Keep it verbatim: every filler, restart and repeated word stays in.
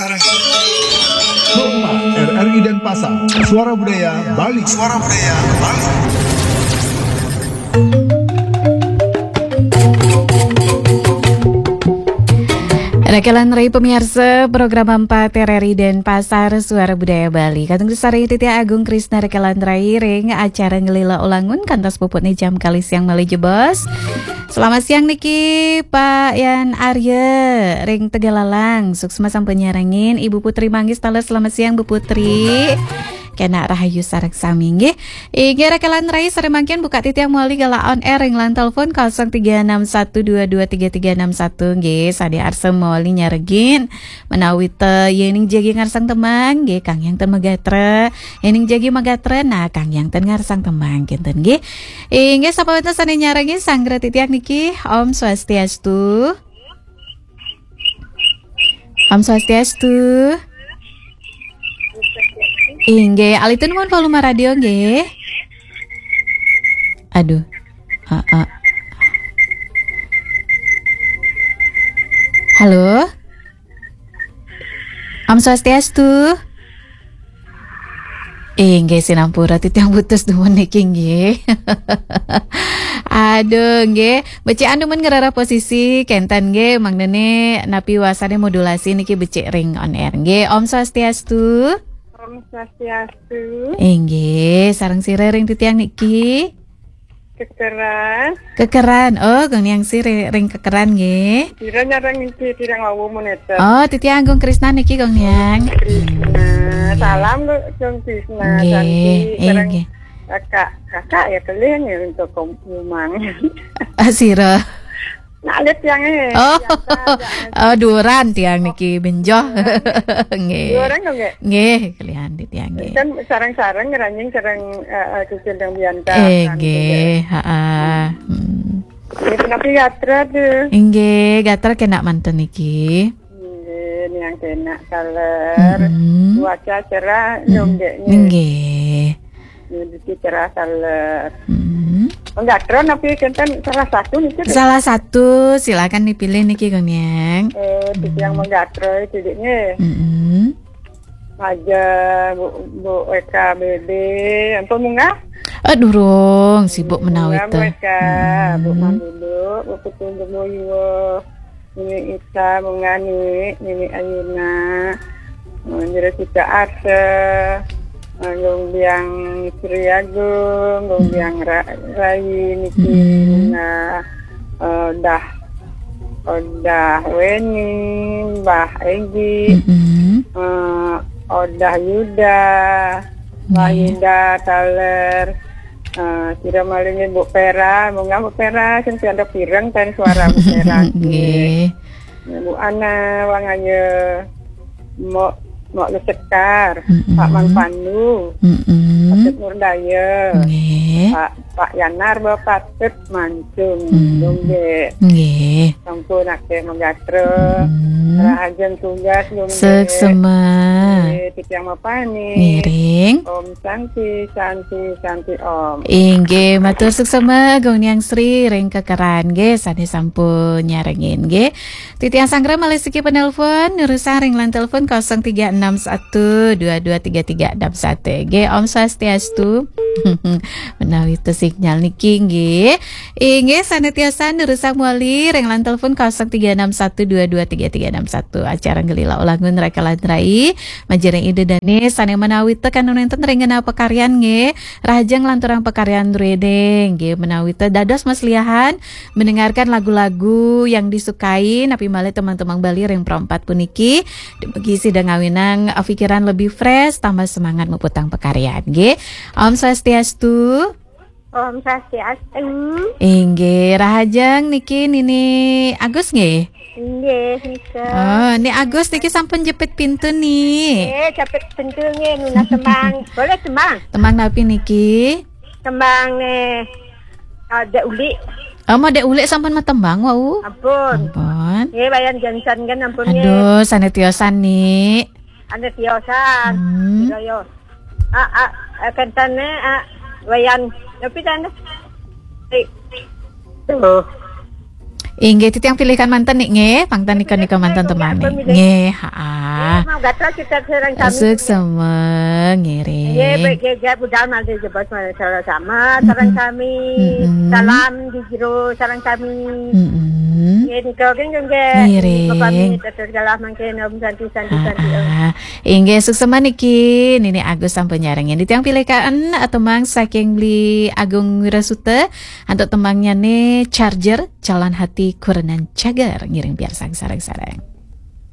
Sarang. Kompas, R R I Denpasar, Suara Budaya Bali. Suara Budaya Bali. Rekelan rai pemirsa program empat R R I Denpasar Suara Budaya Bali. Katong sareng titiang Agung Krisna rekelan rai ring acara Ngelila Ulangun kantos puput ni jam kali siang malih jebos. Selamat siang niki Pak Yan Arya ring Tegalalang. Suksma sampun nyarengin. Ibu Putri Manggis taler, selamat siang Bu Putri. Kenak rahayu sareng sami nggih. Inggih rekelan rai sareng mangkin buka titiang malih galah on air ring line telepon kosong tiga enam satu dua dua tiga tiga enam satu nggih. Sane arsa malih nyarengin menawi te yening jagi ngarsang tembang nggih, Kang Yang ten magatra. Yening jagi magatra, nah Kang Yang ten ngarsang tembang kinten nggih. Inggih sapa wenten sane nyarengin sanggra titiang niki. Om Swastiastu. Om Swastiastu. Inggih, alitin nuwun volume radio nggih. Aduh. Heeh. Halo. Om Swastiastu. Inggih sinampura titiang putus dumun niki nggih. Aduh nggih, becik anu men ngerarah posisi kenten nggih, mangnene napi wasane modulasi niki becik ring on air nggih. Om Swastiastu. Om Swastiastu. Inggih, sareng sira ring titiang niki. Kekeran. Kekeran. Oh, Gong Niang sira ring Kekeran nggih. Sira nyareng niki titiang wau menika. Oh, titiang Agung Krisna niki Gong Niang. Krisna. Salam lu Gong Krisna. Nggih, Santi. Sareng inggih. Kakak, kakak ya kelih nih untuk Komang. Ah, sira. Nak lihat tiang eh. Oh. Biasa aja. Oh, duran tiang niki benjoh. Nggih. Duran dong nggih. Nggih, kelihan di tiang nggih. Kan sareng-sareng ngeranjing sareng eh, eh, Cicil dan Bianca. Eh, kan, nggih, gitu. Ha. Hmm. Nggih, tapi gatra tuh. Inggih, gatra kenak manten niki. Nggih, niang kenak taler. Mm-mm. Cuaca cerah, mm-mm, dong dek nggih. Nggih. Nggih, niki cerah taler. Mm-mm. Menggatro napi kenten salah satu niki, Dek? Salah satu, silakan dipilih niki, Gong Niang. Eh, titiang menggatro itu, Dek, nggih. Mm-mm. Aja Bu, Bu Eka B B, ampun munggah? Eh, durung, sibuk menawi Bu teh. Eka, Bu Mandulu, Bu Putu Geboyo, Nini Ita, Munggah Nini, Nini Ayuna, eh, Jero Cita Asa, eh, Gong Biang Sri Agung, Gong Biang Ra-, Rai niki, Munggah, eh, dah Odah Weni, Mbah Egi, eh, Odah Yuda, Mbah Yuda taler, eh, sira malih nggih Bu Pera, munggah Bu Pera, sing pianda pireng ten suara Bu Pera. Nggih. Bu Ana, Wang Aye, Mok, Mok Lesekar, Pak Man Pandu, Patut Nurdaya, nggih. Pak, Pak Yanar, Bapak Patut Mancung, hmm, Lumbe. Nggih. Sampun akeh menggatro. Hmm. Rahajeng tugas, Lumbe. Suksma. Nggih, titiang mapamit. Ngiring. Om Santi, Santi, Santi Om. Inggih, matur suksma Gong Niang Sri ring Kekeran nggih, sane sampun nyarengin nggih. Titiang sanggra malih siki penelpon, nerusang ring line telepon kosong tiga enam satu dua dua tiga tiga enam satu. Nggih, Om Swastiastu. Menawi te sinyal niki nggih. Inggih, sane tiosan nerusang malih ring line telepon kosong tiga enam satu dua dua tiga tiga enam satu. Acara Ngelila Ulangun rekelan rai. Majeng ring Ida Dane sane menawi te kan nenten ring genah pakaryan nggih. Rahajeng nglanturang pakaryan druene nggih, menawi te dados masliahan mendengarkan lagu-lagu yang disukai, napi malih tembang-tembang Bali ring Pro empat puniki, dumugi sida ngawinang, eh, pikiran lebih fresh, tambah semangat muputang pakaryan nggih. Om Swastiastu. Om Swastiastu. Inggih, rahajeng niki Nini Agus nggih? Inggih, nika. Oh, Ni Agus niki sampun jepit pintu ni. Eh, jepit pintu nggih, nunas tembang. Boleh tembang? Tembang napi niki? Tembang nih, ada Uli. Oh, mau Dek Ulik sampun matembang wau. Ampun. Ampun. Nggih, Wayan Johnson kan ampun nggih. Aduh, sane tiosan ni. Ane tiosan. Hmm. Kira yo. Ah, ah, ah, kentane, ah, Wayan. Tapi tanda. Eh. Tuh. Inggih, titiang pilihkan manten nih, nggih. Pangtan nika, nika manten temani. Nggih, ha. Mau gatra kita sareng sami. Suksma, ngiring. Nggih, baik, nggih, nggih, budal malih jebos malih sama sareng sami. Mm-mm. Salam di jero sareng sami. Mm-mm. Nggih, nika nggih, nggih, nggih. Ngiring. Pamit, terus galah mangkin, Om Santi, Santi, Santi, Om. Ah, inggih, suksma niki Nini Agus sampun nyarengin. Titiang pilihkan temang saking Beli Agung Wirasuta, antuk temangnya nih Charger, Calon Hati Kurenan Cager, ngiring piarsang sareng-sareng.